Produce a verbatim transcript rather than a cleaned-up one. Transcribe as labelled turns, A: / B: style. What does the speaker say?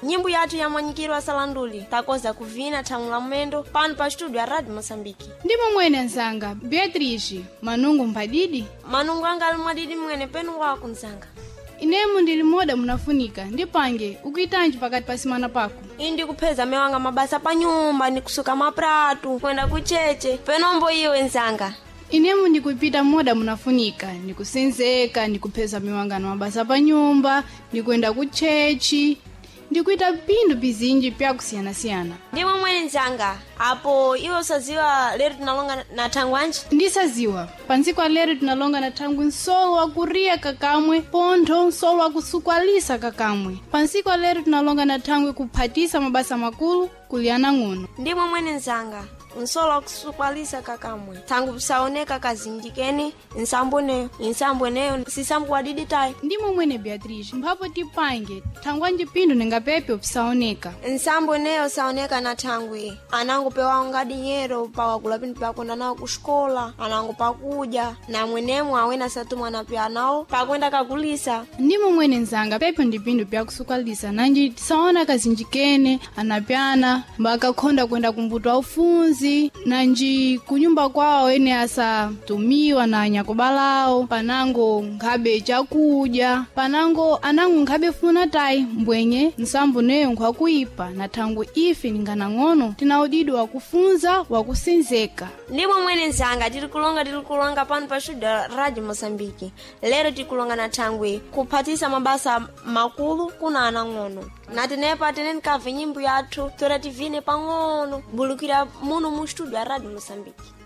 A: Nyimbo yathu yamanyikiro asalanduli takoza kuvina thamu la mwendo pano pa studio ya Radio Moçambique.
B: Ndimo mwene nzanga Beatrice, manungu mbadidi.
A: Manungu anga ali mwadidi mwene penu wako nzanga.
B: Inemu ndili moda munafunika ndipange ukuitanji pakati pa simana pako.
A: Iyi ndikupheza mewanga mabasa pa nyumba ndikusuka mapratu kwenda kucheche penombo iwe nzanga.
B: Inemu ndikupita moda munafunika ndikusenzeka ndikupheza miwangano mabasa pa nyumba ndikuenda kuchechi ndikuita pindu pizinji pyakusiyanasiyana.
A: Ndimo mwene nzanga apo iwe usaziwa lero tinalonga na thangwanji.
B: Ndisaziwa pantsiku alero tinalonga na thangwi nsolo wakuriya kakamwe pontho nsolo wakusukwalisa kakamwe pantsiku alero tinalonga na thangwi kuphatisa mabasa makulu kuliyana ng'ono.
A: Ndimo mwene nzanga nsolo wakusukwalisa kakamwe thangu pisaoneka kazinjikeni nsambo neyo insambo neyo sisambo wadidi tayi.
B: Ndimo mwene Beatrice, mphapo tipange thangwanji pindu ningapepe pisaoneka.
A: Nsambo neyo saoneka na thangwi anango pewa dinyero pawakula pindu pakwenda nawo kuxikola anango pakudya na mwenemo awena satumwa na pya nawo pakwenda kakulisa.
B: Ndimo mwene nzanga pepe ndi pindu pyakusukwalisa nanji tisaona kazinjikene anapyana mbakakhonda kwenda kumbuto aufunzi nanji kunyumba kwawo ene asatumiwa na anyakubalawo panango nkhabe chakudya panango anango nkhabe funa tayi mbwenye nsambo neyo nkhwakuipa na thangwi ife ninganang'ono tina udidi wakufunza wakusenzeka.
A: Ndimo mwene nzanga tiri kulonga tiri kulonga pano pa studio Radio Moçambique. Lero tikulonga na thangwi kuphatisa mabasa makulu kuna anang'ono na tenepa teneni kamve nyimbo yathu tora tivine pang'ono bulukira muno mu studio ya Radio Moçambique.